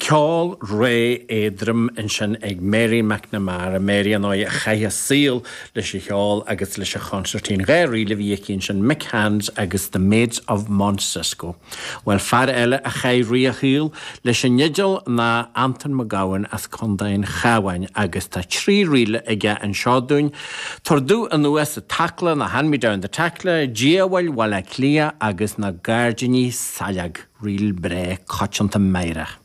Ceol réidh éadrom ansin ag Mary McNamara, Mary ar ndóigh a chaith a saol leis an cheol agus leis an chonsairtín. 2 ríl a bhí aici ansin, Mick Hands agus The Maids of Montcisco. Bhuel, fear eile a chaith rith a shaoil leis an fhidil ná Antain Mac Gabhann as Contae an Chabháin agus tá 3 ríl aige anseo dúinn, Tabhair Domh Anuas an Tacla nó Hand Me Down the Tackla, Diabhail Bhaile Átha Cliath agus Na Gairdíní Saileog, ríl breá coitianta meidhreach.